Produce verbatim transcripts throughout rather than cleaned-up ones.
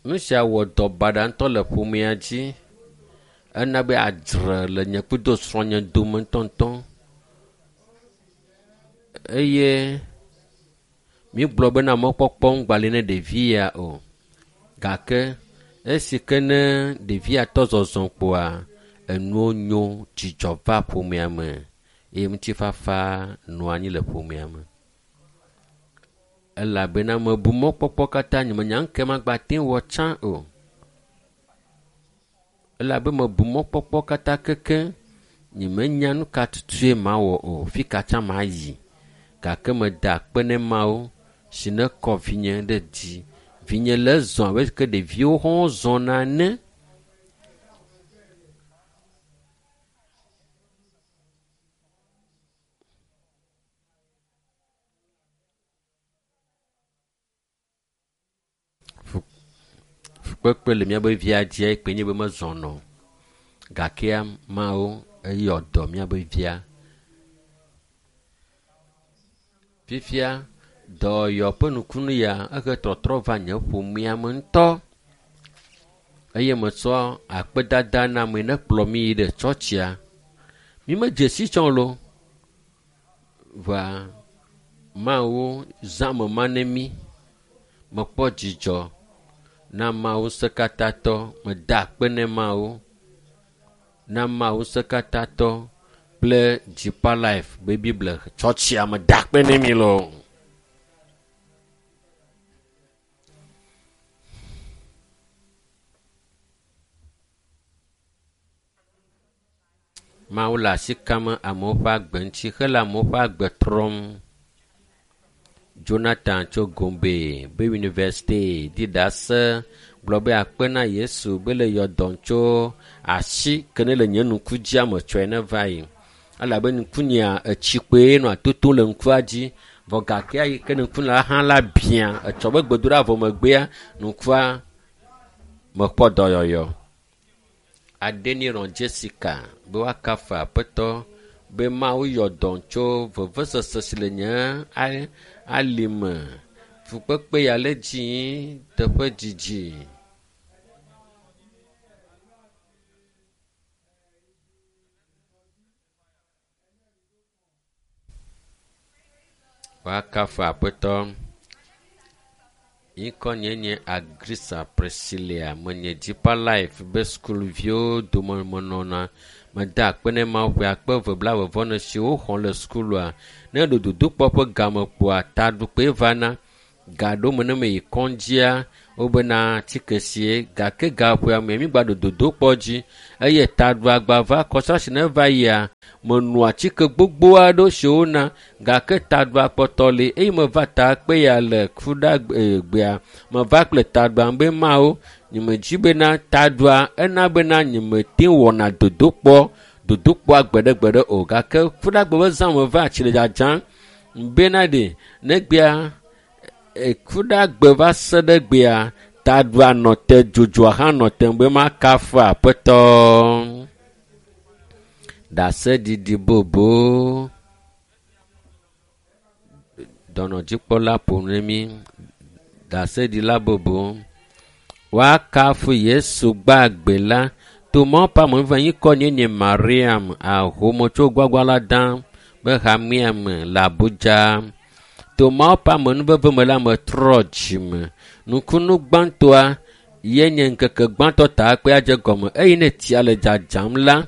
Nu sia wɔ dɔ baɖa ŋutɔ le ƒomea dzi. Ena be adzre le nye kudo srɔ̃nye dome ŋutɔŋutɔ. Eye mígblɔ bena mɔkpɔkpɔ ŋgba li ne ɖevi ya o. Gake esi ke ne ɖevia tɔ zɔzɔ kpoa, enuwo nyo, dzidzɔ va ƒomea me eye ŋutifafa nɔ anyi le ƒomea me. Elabena mebu mɔkpɔkpɔ katã nyemenya ŋke magba te wɔ tsã o. Elabe mebu mɔkpɔkpɔ katã keke nyemenya nu ka tutue mawɔ o, fi ka tsã mayi. Gake meda akpe ne Mawu si ne kɔ vinye ɖe dzi. Vinye le zɔ abe ke ɖeviwo hã zɔna ene. Fukpekpe le míaƒe via dzia ekpe nye be mezɔnɔ o. Gakea Mawu eyɔ dɔ míaƒe via. Fifia dɔyɔ ƒe nukunu ya ehe trɔtrɔ va nye ƒomea me ŋutɔ. Eye mesɔ akpedada na ame ne kplɔ mi yi ɖe tsɔtsia. Mi medze si tsɔ lo. Va Mawu zã me ma ne mi. Mekpɔ dzidzɔ na Mawu ŋusẽkatãtɔ. Meda akpe ne Mawu. Na Mawu ŋusẽkatãtɔ kple Deeper Life be Bible tsɔtsia meda akpe ne mi lo. Mawu le asi kam amewo ƒe agbe ŋuti hele amewo ƒe agbe trɔm. Jonathan tso Gombe be University di ɖase gblɔ be akpe na Yesu be le yɔ dɔm tso asi ke ne le nye ŋku dzia me tsɔe ne va yi. Elabe ŋkunyea etsi kpoe nɔa toto le ŋkua dzi vɔ gakea yi ke ŋku la hã la bia etsɔ be gbedoɖa vɔ megbea ŋkua mekpɔ dɔyɔyɔ. Adeniran Jessica be woakafu Aƒetɔ be Mawu yɔ dɔm tso vevesese si le nye alime. Fukpekpe ya le dzi teƒe dzidzi. Woakafu Aƒetɔ. Ŋkɔ nye nye Agrisa Priscilla. Menye Deeper Life be sukuviwo dome menɔna. Meda akpe ne Mawu ƒe akpe eve blaeve vɔ ene siwo woxɔ le sukulua. Ne ɖo dodokpɔ ƒe game kpoa, taɖukpe vana. Gaɖo me ne meyi kɔdzia, wobena atike sie gake gaƒoa me mígba ɖo dodokpɔ dzi eye taɖuagba va kɔsasi ne va yia, menɔ atike gbogbo aɖewo siwo wona gake taɖua kpɔtɔ li eye meva ta kpe ya le kuɖagbea meva kple taɖua be Mawu nyemedzi bena taɖua ena bena nyemete wɔna dodokpɔ dodokpɔa gbeɖegbeɖe o gake kuɖagbe ƒe zã meva tsi le dzadzam bena ɖe negbea kuɖagbe va se ɖe gbea taɖua nɔ te dzodzoa hã nɔ te be makafu Aƒetɔ. Ɖaseɖiɖi bobo. Dɔnɔdzikpɔla ƒo nu ne mí. Ɖaseɖila bobo. Woakafu Yesu gbagbe la. Tomɔ ƒe ame ŋkɔ nye nye Mariam Ahomotso Gwagwalada be hamea me le Abuja. Tomɔ ƒe amenuveve me la metrɔ dzime. Nukunu gbãtɔa ye nye ŋkeke gbãtɔ ta kpe adze gɔme eye ne tsia le dzadzam la,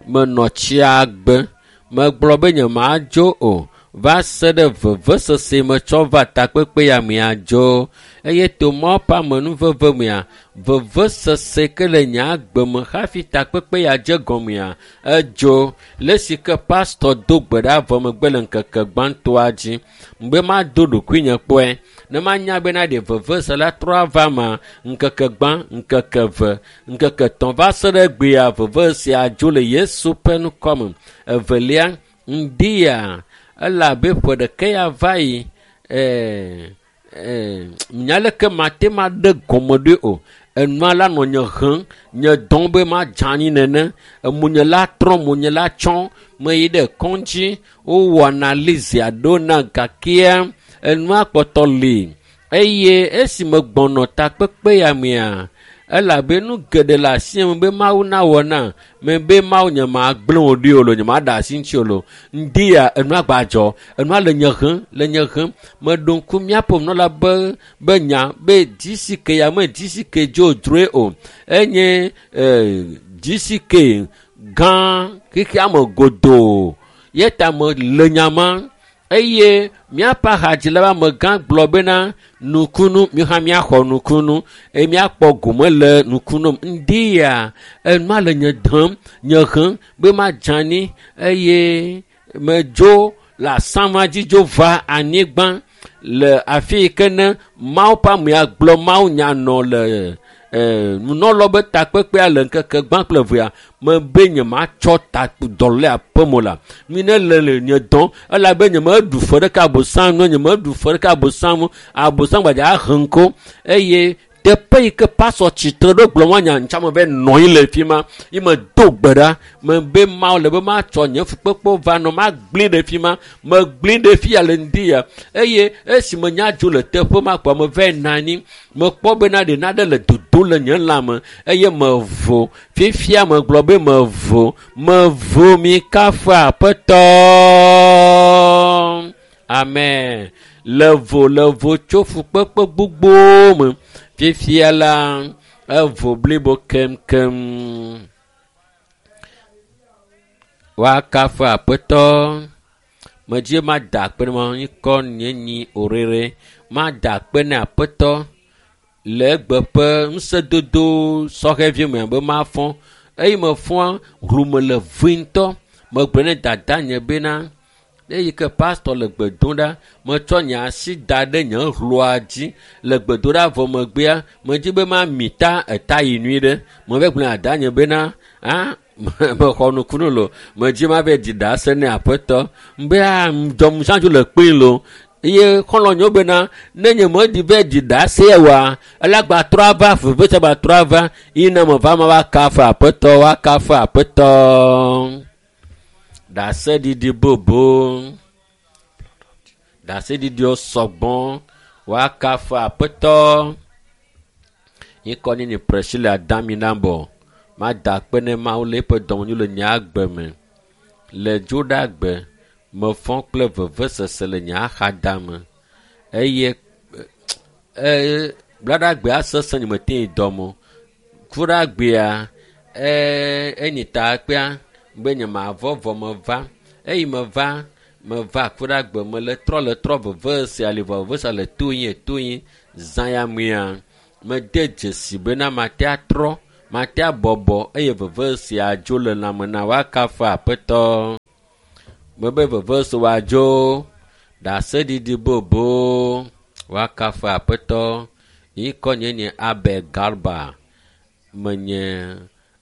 menɔ tsia gbe. Megblɔ be nyemadzo o va se ɖe vevesese metsɔ va takpekpe ya me adzo. Eye tomɔ ƒe amenuveve mea, vevesese ke le nye agbe me hafi takpekpe ya dze gɔmea, edzo. Le si ke pastɔ do gbe ɖa vɔ megbe le ŋkeke gbãtɔa dzi. Be mado ɖokuinye kpɔe. Ne manya bena ɖe vevese la trɔ ava ma, ŋkeke gbã, ŋkeke eve, ŋkeke etɔ̃ va se ɖe gbea vevese adzo le Yesu ƒe ŋkɔme. Evelia, ŋdi ya elabe ƒe ɖeka ya va yi, ɛɛ, ɛɛ, nya leke mate ma ɖe gɔme ɖoe o. Enua la nɔ nye hem, nye dɔm be madze anyi nene. Emonye la trɔ, monye la tsɔ. Meyi ɖe kɔdzi, wowɔ analyse aɖewo na gakea enua kpɔtɔ li. Eye esime gbɔnɔ takpekpe ya mea, elabe nu geɖe le asie me be Mawu nawɔ na me be Mawu nye ma gblẽ wò ɖi o lo, nye ma ɖe asi ŋuti o lo. Ŋdi ya enua gbadzɔ, enua le nye hem, le nye hem. Meɖo ŋku míaƒe nunɔla be be nya be G C K ya me G C K dzodzroe o. Enye eh, G C K gã xexea me godoo. Ye ta me le nya ma eye míaƒe ahadzila be amegã gblɔ bena nukunu mi hã míaxɔ nukunu eye míakpɔ gome le nukunu me. Ŋdi ya enua le nye dem nye hem be madze anyi eye medzo le asama dzi dzo va anyigba le afi yi ke ne Mawu ƒe amea gblɔ Mawu nya nɔ le eh, nunɔlɔ be takpekpea le ŋkeke gbã kple evea mebe nye matsɔ ta dɔlé aƒeme o la. Mi ne le le nye dɔm elabe nye meɖu fe ɖeka abosam nu nye meɖu fe ɖeka abosam nu abosam gbadza ahe ŋko eye teƒe yi ke pasɔ tsitre ɖo gblɔ ma nya ŋtsame be nɔ anyi le fi ma yi me do gbe ɖa mebe Mawu le be matsɔ nye fukpekpewo va nɔ magblẽ ɖe fi ma megblẽ ɖe fi ya le ŋdi ya eye esi me nya dzo le teƒe ma kpɔ me va nɔ anyi mekpɔ bena ɖe nane le dodo le nye lãme eye mevo fifia megblɔ be mevo mevo mi kafu aƒetɔ amen le vo le vo tso fukpekpe gbogbowo me fifia la evo blibo keŋkeŋ woakafu aƒetɔ medzi mada akpe ne ma ŋkɔ nye nyi orere mada akpe ne aƒetɔ le egbe ƒe ŋusẽdodo sɔhɛvi me be mafɔ eye mefɔa hlũme le vue ŋutɔ megblɔ ne dada nye bena eyi ke pastor le gbe dom ɖa metsɔ nye asi da ɖe nye hlua dzi le gbedoɖa vɔ megbea medzi be mami ta eta yi nyui ɖe meve gblɔ na dada nye bena ah mexɔ nukunu lo medzi ma be dzi ɖase ne aƒetɔ be ah dɔmuzãdzo le kpee lo eye xɔlɔ̃nyewo bena ne nye medi be dzi ɖase wa ele agba trɔ ava vevesese gba trɔ ava yi ne meva ma va kafu aƒetɔ wa kafu aƒetɔ ɖaseɖiɖi bobo ɖaseɖiɖiwo sɔgbɔ woakafu aƒetɔ ŋkɔ nye nye Priscilla Daminabɔ mada akpe ne Mawu le eƒe dɔmenyo le nye agbe me le dzoɖagbe mefɔ kple vevesese le nye axadame eye e blaɖagbea sesẽ nye mete yi dɔme o kuɖagbea e enyi takpea be nye mavɔ vɔ meva eyi meva meva kuɖagbe me le trɔ le trɔ vevesea li vɔ vevesea le to yin to yin zã ya mea mede dzesi bena mate atrɔ mate abɔbɔ eye vevesea dzo le lãme na woakafu aƒetɔ mebe vevese woadzo ɖaseɖiɖi bobo woakafu aƒetɔ ŋkɔ nye nye Abel Garba menye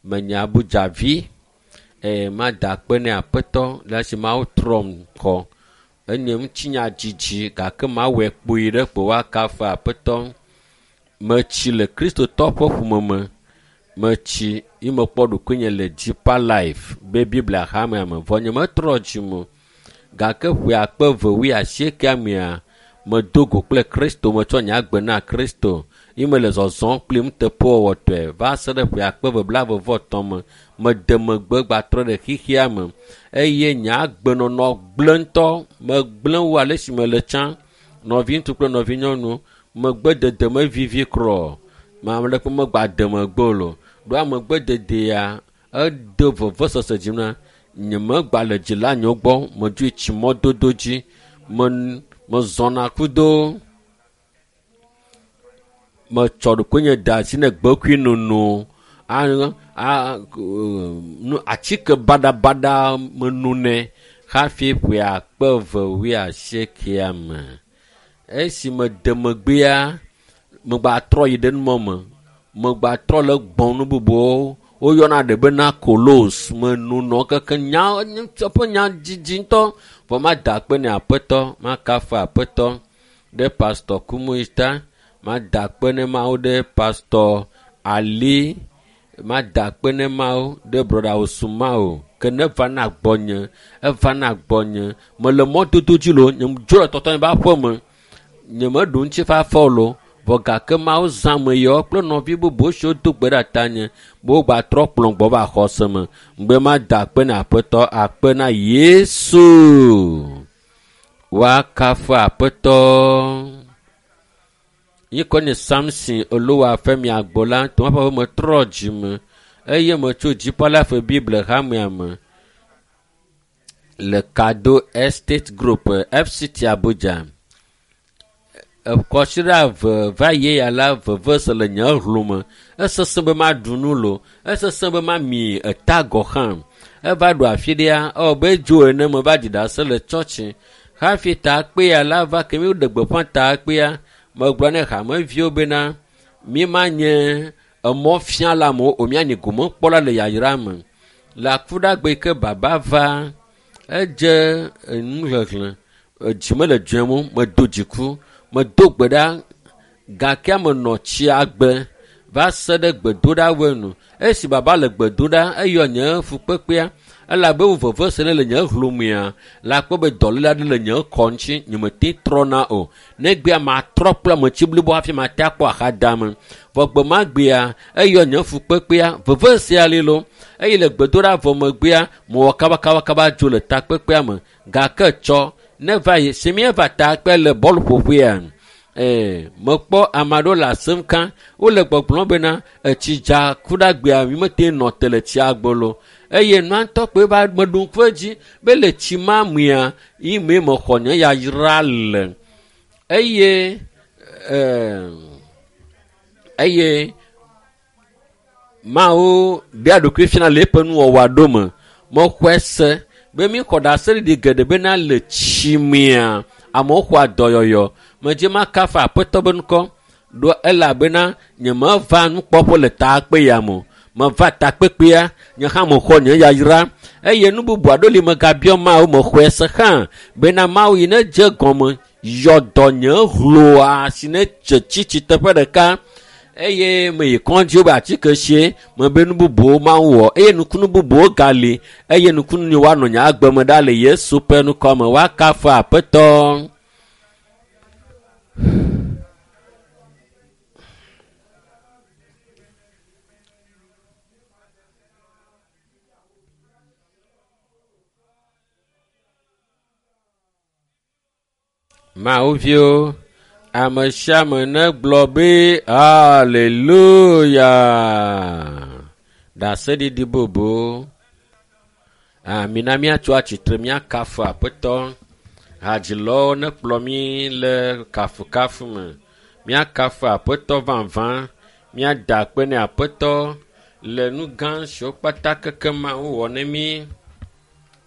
menye Abujavi eye mada akpe ne aƒetɔ le esi Mawu trɔm xɔ enye ŋutinya dzidzi gake mawɔe kpui ɖe kpo woakafu aƒetɔ metsi le kristotɔ ƒe ƒome me metsi yi mekpɔ ɖokuinye le Deeper Life be Biblia hamea me vɔ nye metrɔ dzime o gake ƒe akpe eve wuiasiekea mea medo go kple Kristo metsɔ nye agbe na Kristo yi mele zɔzɔm kpli nuteƒewɔwɔtɔe va se ɖe ƒe akpe eve blaeve vɔ etɔ̃ me mede megbe gbatrɔ ɖe xexea me eye nye agbenɔnɔ gblẽ ŋutɔ megblẽ wu ale si mele tsã nɔviŋutsu kple nɔvinyɔnu megbedede mevivi krɔ ame ɖeke megba de megbe o lo ɖo amegbededea ede vevesese dzi na nye megba le dzilanyewo gbɔ medzoe tsi mɔdodo dzi me mezɔna kudo metsɔ ɖokuinye de asi ne gbekui nono a a nu atike baɖabaɖa menonɛ hafi ƒe akpe eve wuiasiekea me esi mede megbea megba trɔ yi ɖe numɔ me megba trɔ le gbɔn nu bubuwo woyɔna ɖe bena kolos menonɔ keke nya ƒe nya dzidzi ŋutɔ vɔ mada akpe ne aƒetɔ makafu aƒetɔ ɖe pastor Kumuyi ta mada akpe ne Mawu ɖe pastor Ali mada akpe ne Mawu ɖe brɔda Osumao ke ne va na gbɔnye eva na gbɔnye mele mɔdodo dzi lo nye dzo le tɔtɔ nye be aƒe me Nyemeɖu ŋutifafa o lo. Vɔ gake Mawu zã ame yawo kple nɔvi bubu siwo do gbe ɖe tanye be wogbatrɔ kplɔm gbɔ va xɔse me. Ŋgbe mada akpe na Aƒetɔ, akpe na Yesu. Woakafu Aƒetɔ. Ŋkɔ nye Samson Olowafemi Agbola, tomaƒe metrɔ dzime eye metso Dziƒola ƒe Bible hamea me le Kado Estate Group, F C T Abuja. Kɔsiɖa eve va yi ya la, veve se le nye hlo me. Esesẽ be maɖu nu lo, esesẽ be mami eta gɔ̃ hã. Eva ɖo afi ɖea, ewɔ be dzo ene meva ɖi ɖase le tsɔtsi. Hafi takpea la va ke mi ɖe gbeƒã takpea, megblɔ ne hameviwo bena mi manye emɔfiala amewo o, mianye gomekpɔla le yayra me. Le akuɖagbe yi ke baba va, edze enuxexlẽ, edzi mele dzɔem o, medo dziku, medo gbe ɖa gake menɔ tsia gbe va se ɖe gbedoɖawoe nu. Esi baba le gbe do ɖa, eyɔ nye fukpekpea elabe wo veve se ɖe le nye hlomea, la kpɔ be dɔléle aɖe le nye kɔ ŋuti, nyemete trɔna o. Negbea matrɔ kple ametsi blibo hafi mate akpɔ axadame. Vɔ gbe ma gbea, eyɔ nye fukpekpea, veve sia li lo. Eye le gbedoɖa vɔ megbea, mewɔ kabakabakaba dzo le takpekpea me. Gake tsɔ ne va yi, si míeva takpe le bɔluƒoƒea, ee, mekpɔ ame aɖewo le asem ka, wole gbɔgblɔm bena etsi dza ku ɖe agbea, mi mete nɔ te le tsia gbɔ lo. Eye nua ŋutɔ kpoe va meɖo ŋku edzi be le tsi ma mea, yi mee mexɔ nye yayra le. Eye, ee, eye Mawu ɖea ɖokui fiana le eƒe nuwɔwɔ ɖo me. Mexɔe se be míxɔ ɖaseɖiɖi geɖe bena le tsi mea, amewo xɔa dɔyɔyɔ. Medze makafu Aƒetɔ be ŋkɔ ɖo elabena nyemeva nukpɔƒe le takpe ya me o. Meva takpekpea, nye hã mexɔ nye yayra. Eye nu bubu aɖewo li megabiɔ Mawu, mexɔe se hã bena Mawu yi ne dze gɔme yɔ dɔ nye hloa si ne dze tsitsi teƒe ɖeka. Eye meyi kɔdzi wobe atike sie, mebe nu bubuwo Mawu wɔ eye nukunu bubuwo gali eye nukunu yi woanɔ nye agbe me ɖa le Yesu ƒe ŋkɔ me. Woakafu Aƒetɔ. Mawu viwo, ame sia ame negblɔ be haleluya. Ɖaseɖiɖi bubu. Mina míatso atsitre míakafu Aƒetɔ. Hadzilɔwo nekplɔ mí le kafukafu me. Míakafu Aƒetɔ vavã. Míada akpe ne Aƒetɔ le nu gã siwo kpata keke Mawu wɔ ne mí.